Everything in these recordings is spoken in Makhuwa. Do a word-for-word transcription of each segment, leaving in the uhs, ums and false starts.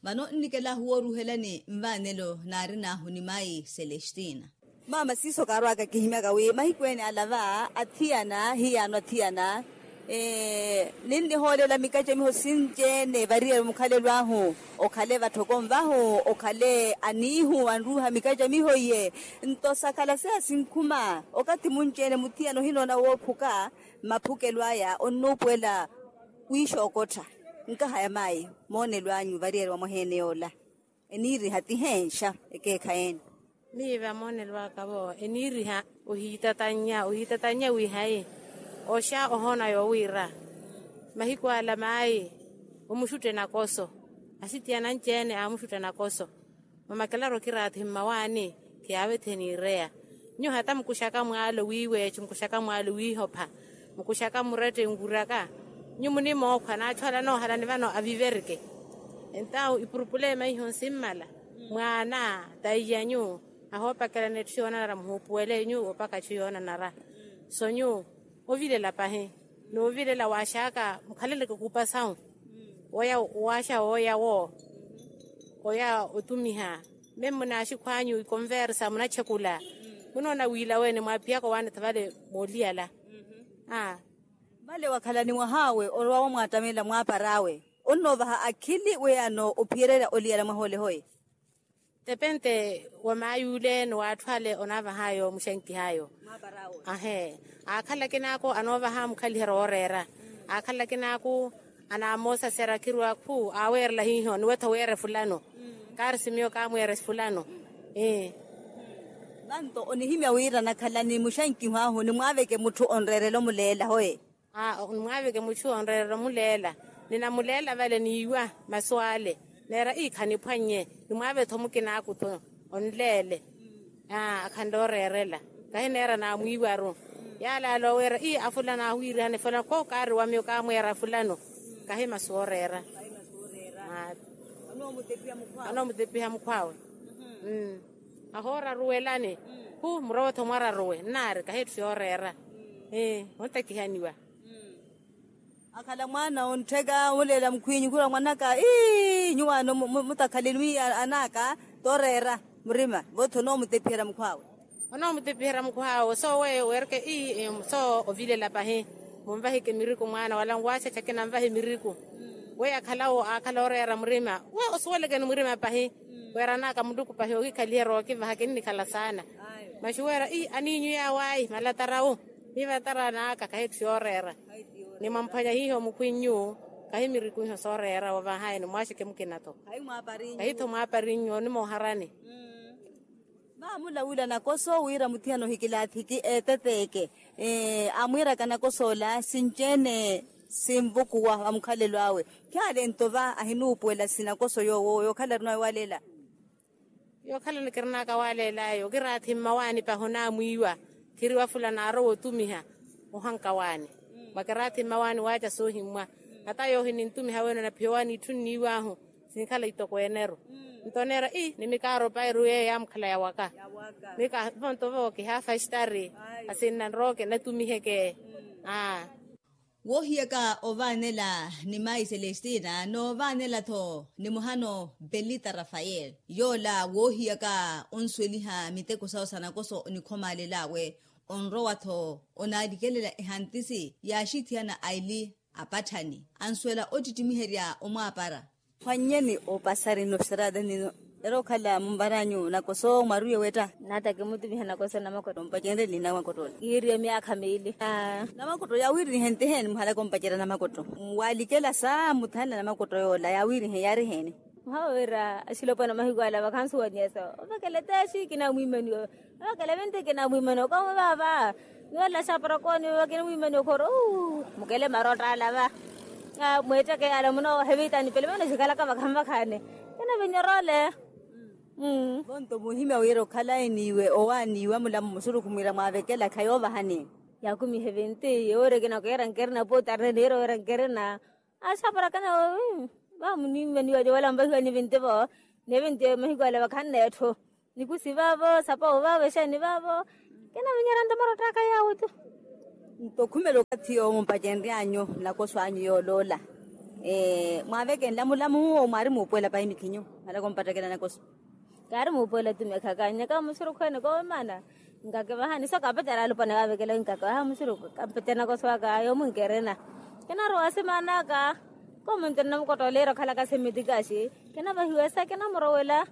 Vano nnikela huworuhelani nvaanelo naarin'ahu ni mayi celestina. Maama siiso kaarwaka kihimyaka wi mahiku ene ala va athiyana hiyaano athiyana ninnihoolela mikacamiho sinci-ene variyari mukhalelo ahu. Okhale vatthoko nvahu okhale aniihu anruuha mikacamiho iye. Nto sakhala seya sinkhuma okathi munci-ene muthiyana ohinoona woophuka. Maphukelo aya onnuupuwela wiixookottha. Nkaha ya mayi moonelo anyu variyari wa mwaheene yoola eniiriha ti heenxa ekeekhayi ene. Miiva moonelo aka vo eniiriha ohiitatannya ohiitatannya wiihayi oxa ohoona yoowiira mahiku ala mayi omuxutte nakoso. Asitiyana anci-ene aamuxutta nakoso. Mamakelaru okiraathi mmawaani khiyaavethihe niireya. Nyuwo hata mukuxaka mwaalo wiiweexe mukuxaka mwaalo wiihopha mukuxaka murette nkuraka. Nyuwo munimookhwa n'achu ala anoohalani vano aviverike. Entawu ipurupulema iho nsimmala mwaana taiyanyu ahoopakelana etthu yoonanara muhuupuwele nyuwo opaka etthu yoonanara. So nyuwo ovilela pahi n'uvilela waaxaka mukhaleleke kuupa sawu. Woya waaxa wooya wo oya otumiha. Meme munaaxikhw'anyu ikonversa munatxekula munoona wiila wene mwaapihaka owaanetha vale mooliyala. Vale wakhalani mwah'awe orwa wamwaattamelela mwaapar'awe onnoovaha akhili weyano ophiyererya oliyala mwaha ole hoye. Tepente wa maay'ule ni w'atthu ale onaavah'ayo muxankih'ayo. Ahe aakhala akin'aku anoovaha mukhaliherya wooreera. Aakhala akin'aku anaamoosasera khirwa khu aaweerela hiiho niwetho weere fulano. Kaari simiyo kaamweere fulano. Vanto onihimya wira nakhalani muxankiho ahu nimwaaveke mutthu onreerela omuleela hoye. Nimwaaveke mutthu onreerela omuleela. Ninamuleela vale niiwa masu ale neera ii khaniphwannye. Nimwaave-tho mukinaaku-tho onleele. Akhanle oreerela kahineera naamwiiwaru. Yaalaala oweera ii afulana ahu wiirihane fulano kookaari wa miyo kaamweera fulano. Kahi masu ooreera. Anoomutepiha mukhw'awe. Ahooraruwelani khu murowe-tho mwararuwe nnaari kahi etthu yooreera. Ontakihaniwa. Akhala mwaana onttheka omuleela mukhwinyu khurwa mwanaka ii nyuwo ano mutakhaleni wi anaka tooreera murima vo-tho onoomutepiherya mukhw'awe. Onoomutepiherya mukhw'awe sooweyo weereke ii soo ovilela pahi. Munvahike miriku mwaana wala nwaaxaxake nanvahe miriku. Weyo akhalawo aakhala oreera murima we osuwelekeni murima pahi. Weeranaka muluku pahi okikhaliherya ookivaha kinnikhala saana. Maxi weera ii aniinyu yaawayi malatarawu. Miivatara n'aka kahi etthu yooreera. Nimwamphwanya hiiho mukhwinyu kahi miriku iho sooreera wovah'aye nimwaaxeke mukina-tho. Kahi-tho mwaaparinnyu onimooharani. Vaamulawila nakoso wira muthiyana ohikilaathiki eeteteeke. Amwiiraka nakoso ola sinci-ene sinvukuwa va mukhalelo awe. Khaale nto va ahinuupuwela sinakoso yoowo yookhala arinawe walela. Yookhalani kirinaka waaleel'ayo okiraathi mmawaani pahi onaamwiiwa. Khiriwa fulano aarowa otumiha ohanka waani. Mwa kiraathi mmawaani waaca soohimmwa. Hata yoohi nintumiha wene onaphiya owaani itthu nniiw'ahu sinkhala itoko ene-ru. Nto oneera ii nimikaaro pairu yeeyo yaamukhala yawaka. Mika vonto vo kihaafa extari. Asinna nrooke natumiheke. Aa. Woohiyaka ovaanela ni mayi celestina noovaanela-tho ni muhano belita rafael. Yoola woohiyaka onsuweliha miteko sawe sa nakoso onikhomaalel'awe. Onrowa-tho onaalikelela ehantisi yaaxithiyana aili apatthani. Ansuwela ottittimiherya omwaapara. Phwannyeni opasari nno sirata nino. Era okhala munvar'anyu nakoso mwaruye wetta. Naata kimutumiha nakoso namakotto ompacenrye ni namakotto ola kiiriye myaakha miili. Namakotto yaawiirinihe ntiheeni muhalaka ompacerya namakotto. Waalikela sa muthanle namakotto yoola yaawiirihe yaariheeni. Muhawe wira axilopwana mahiku ala vakhansuwanyeso ovekela teexi kinamwiimaniwa. Vakela venteke na mwimani okamu vava. Niwela xaporokoni vakena mwimani okhoro. Mukele marotta alava. Mwetteke yala muno hevitani pele mano xikhalaka vakhanvakhani. Kena vinyorole. Vonto muhimya wira okhalayi niwe owaaniwa mulamo musuruku mwira mwavekela khayovahani. Yakumihe venti yewore kena kuyera nkerena potarne niyera wera nkerena. Axaparakana. Vamunimmaniwa wala mvahiwani vinti vo. Ni vinti mahiku ala vakhannetthu. Nikusi vavo sapawo vavo exeeni vavo. Kinavinyerya nto marottaka yawo tu. Nto khumela okathi yoowo mumpacenryanyu nakoso anyu yooloola. Mwaaveke nlamulamu owo mwaari muupuwela pahi mikhinyu? Alaka ompattakela nakoso. Kaari muupuwela tumekha kaanyaka musurukhu ene koomaana. Nkakivahani so kaapetela alupwane vaavekela wi nkakivaha musurukhu kampetela nakoso aka yoomunkerena. Kinarowa simaanaka. Koomunterena mukottoleera okhalaka semitikaxi. Kinavahiwesa kinamurowela.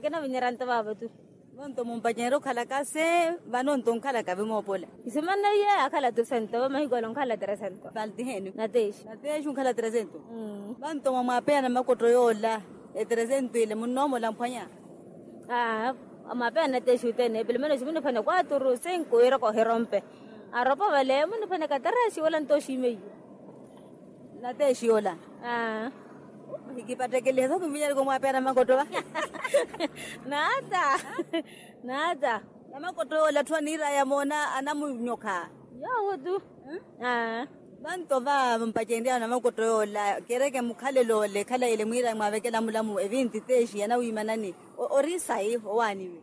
Kinavinyerya nto vaavo tu. Vonto mumpacenrye okhalaka se vanonto onkhalaka vimoopola. Isimaneiye akhala tu sento vamahiku ale onkhala tresento. Paltiheeni. Natexi. Natexi onkhala tresento. Vanto mwamwapeya namakotto yoola etresento ile munnoomola mphwanya. Aa mwamwapeya natexi othene pilimeno ximuniphwanya kwaturu sinku wira kohirompe. Aropo vale muniphwanya katerexi wala nto oxiimeiye. Natexi yoola. Aa. Hikipattekelihe so kimuvinyereke omwapeya namakotto va. Naata. Naata. Namakotto yoola atthu aniiraya moona anamunyokha. Yoowo tu. Aa. Vanto va mpacenryano namakotto yoola kereke mukhalelo ole khalayele mwiiraya mwaavekela mulamu evinti texi yanawiimanani. Ori sayi owaaniwe.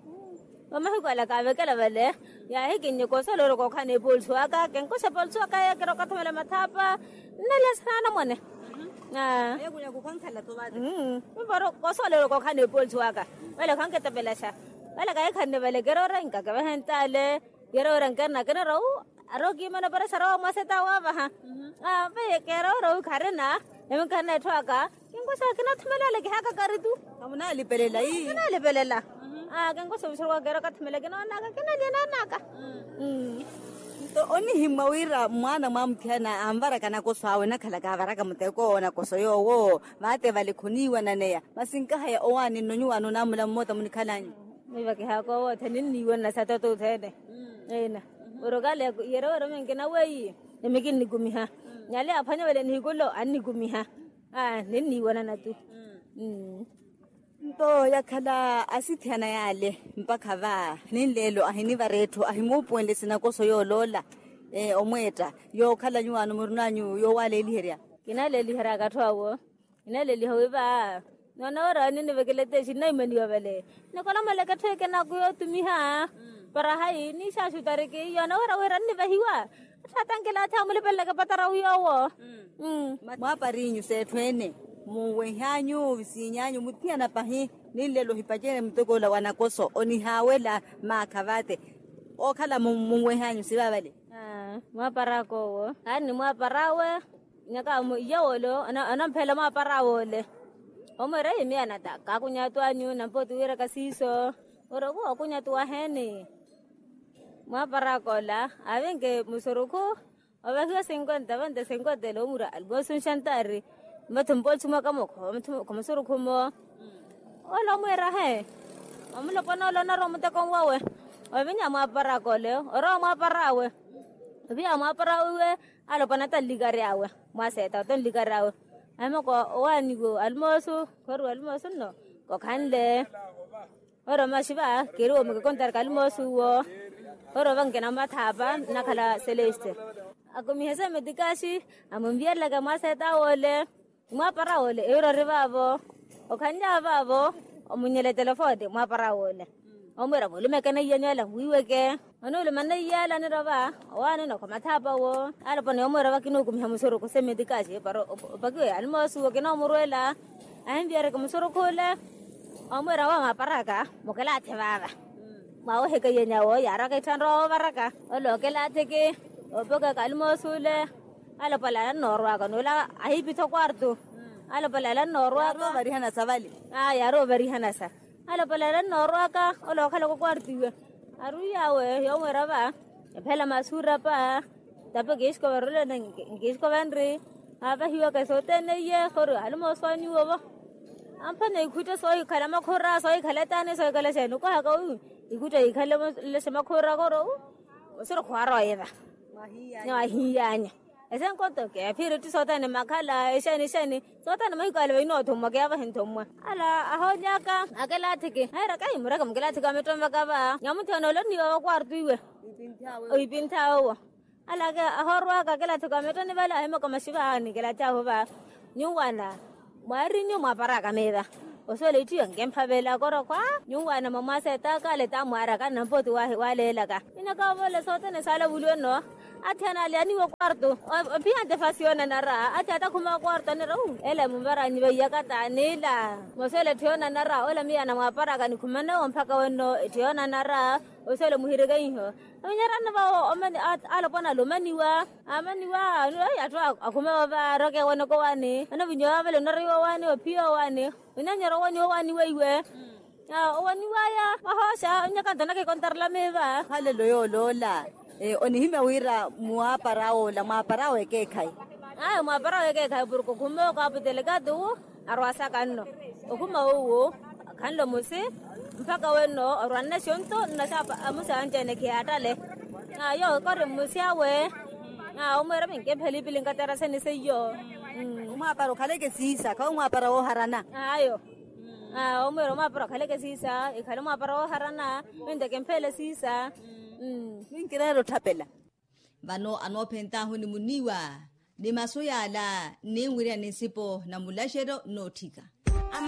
Vamahiku ala kaavekela vale yaahikinnye kosoolowela kookhana epolisi waka kenkoxa epolisi waka yeekira okathumela mathaapa. Nnalya sanaana mwane. Aa. Mimparo kosoolowela kookhana epolisi waka vale khanketepelaxa. Vale kahikhanne vale keroora inkakevehe ntaale. Yeroora nkerina kinero wu arookimana operaxara wa mwaseta waavaha. Aa vale keroora wu kharina. Nave nkarina etthu aka. Kinkoxa kinathumela ale kihaaka kari tu. Amunalipelela ii. Kinalipelela. Aa kinkoxa omuxeru wa keera okathumela kinoonaka kinalya naanaka. Nto onihimwa wira mwaana mwamuthiyana anvaraka nakoso awe nakhala kaavaraka muteko nakoso yoowo. Vaate vale khoniiwananeya masi nkahaya owaani nno nyuwaano naamula mmoota munikhalanyu. Miiva kihaaka owootha ninniiwanana sa toto othene. Eina. Orokale yero wero minkina weiyi. Emikinnikumiha. Nyale aphwanya vale nihikulo annikumiha. Aa ninniiwanana tu. Nto yakhala asithiyana yaale mpakha va ninleelo ahinivara etthu ahimuupuwenle sinakoso yooloola. Omweetta yookhala nyuwaano murunanyu yoowaleeliherya. Kinaleeliheryaka atthu awo. Kinaleeliha wi va noona wira ninivekela etexi nnaimaniwa vale. Nikolomeleke etthu ekinaku yootumiha. Para hayi niixaaxutariki yoona wira wira nnivahiwa. Atthu atankelaathi amulipeleleke patarawu yoowo. Mwaaparinyu s'etthu ene. Munwehanyu visiinyanyu muthiyana pahi. Ninlelo ohipacene muteko ola wa nakoso onihaawela maakha vaate. Ookhala munwehanyu sivaavale. Mwaapar'aka owo. Aari ni mwaapar'awe. Nyaka iye wole. Onamphela mwaapar'awe ole. Omweera yimiyanata kaakunya atu anyu nampooti wiiraka siiso. Oroku wookunya atu waheeni. Mwaapar'aka ola aavinke musurukhu. Ovahiwa sinkwenta vente sinkwenta ele omura alimosi onxantaari. Mmathu mpooti mwaka mukho. Khumasurukhu mmo. Ole omwiira he. Omulopwana ole onarowa muteko nwawe. Ovinya mwaapar'aka ole orowa mwaapar'awe. Oviya mwaapar'awe iwe. Alopwana ata nlikary'awe. Mwaseeta ata nlikary'awe. Ahimoko owaaniwe alimoosu. Khoriwa alimoosu nno. Kokhanle. Oro maxi va keriwa mukikontari kalimoosi uwo. Oro vankina mathaapa nnakhala celeste. Akumihe semetikaxi. Amunviyerelaka mwaaseeta wole. Mwaapara wole eyuro ori vaavo. Okhanly'awe vaavo. Omunyela etelefoni mwaapara wole. Omwiira mulumeke neiyanyu ala mwiiweke. Onuuluma neiya ala anirova. Owaanina okhomathaapa wo. Alopona yomwiira vakinuukumiha musurukhu semetikaxi para opakiwe alimoosi wo kinoomurwela. Ahinviyereke musurukhu ole. Omwiira wamwaparaka mukelaathe vaava. Mwawoheka iyenyawo yaaraka itthanrowa woovaraka. Ole okelaathe ki. Opokaka alimoosi ole. Alopala anannoorwaka n'ula ahipitha okwartu. Alopala anannoorwaka. Yaari ovarihanasa vale. Aa yaari ovarihanasa. Alopala anannoorwaka. Ole okhalaka okwartu iwe. Arwiyawe yomwiira va. Ephela masuura pa. Tape kiixiko varulene. Nkiixiko vanri. Aavahiwaka sothene iye khori alimoosi wa nyuwo vo. Amphana ikhutta soohikhala makhura soohikhala etaani soohikhala exeeni okohaka wi. Ikhutta yikhale lexe makhura koro. Osiro khwaarowa yeva. Niwahiyanya. Esenkoto keephiri tti sothene makhala exeeni exeeni. Sothene mahiku ale vainoothommwa keevahi nthommwa. Ala ahoolyaka. Akelaathiki ahiira kahi mureke mukelaathiki amittonvaka va nyamuthiyana ole onniiwa vakwartu iwe. Ohipinnthaya owo. Alaka ahoorwaka akelaathiki amittonvaka vale ahimoko maxiva anikelaathahu va. Nyuwana. Mwaarinyu mwaaparaka miiva. Osuwela itthiyo nkemphavela korokhwa. Nyuwana mwamwaaseetaka ale tamwaaraka nampooti waleelaka. Inaka ovole sothene saalavuliwe nno. Atthi anaali aniiwa okwarto. Ophiya ntefasi yoonanara atthi atakhuma okwarto anira uu ela emuvaranyi veiyaka taanila. Moswele etthu yoonanara ola miyo anamwaparaka nikhumanewo mpakha wenno etthu yoonanara. Oswele omuhirikeiho onyerana vawo. Alopwana ala omaniwa amaniwa. Atthu akhumewa varoke wenoko wani anavinyowa vale onaroiwa wani ophiya owani. Onanyera owaniwa owani weiwe. Owaniwaya wahooxa onyaka nto nakikontarela miiva. Halelo yooloola. Onihimya wira mwaapara awe ola mwaapara awe ekeekhayi. Ayo mwaapara awe ekeekhayi porke okhumewa okaaputele kaati owo arwaasaka nno. Okhuma owo khanle omosi mpakha wenno orwanne xonto nnaxapa amusi anci-ene khiyaattale. Ayo kori mmosi awe. Omweera minke phelipilinka tarasani seiyo. Omwaapara okhaleke siisa khawe omwaapara wooharana. Ayo. Omweera omwaapara okhaleke siisa ekhale omwaapara wooharana. Minteke mphele siisa. Minkireera otthapela. Vano anoophentaahu ni muniiwa ni masu yaala nninwirya ni nsipo na mulaxeryo nnootthika.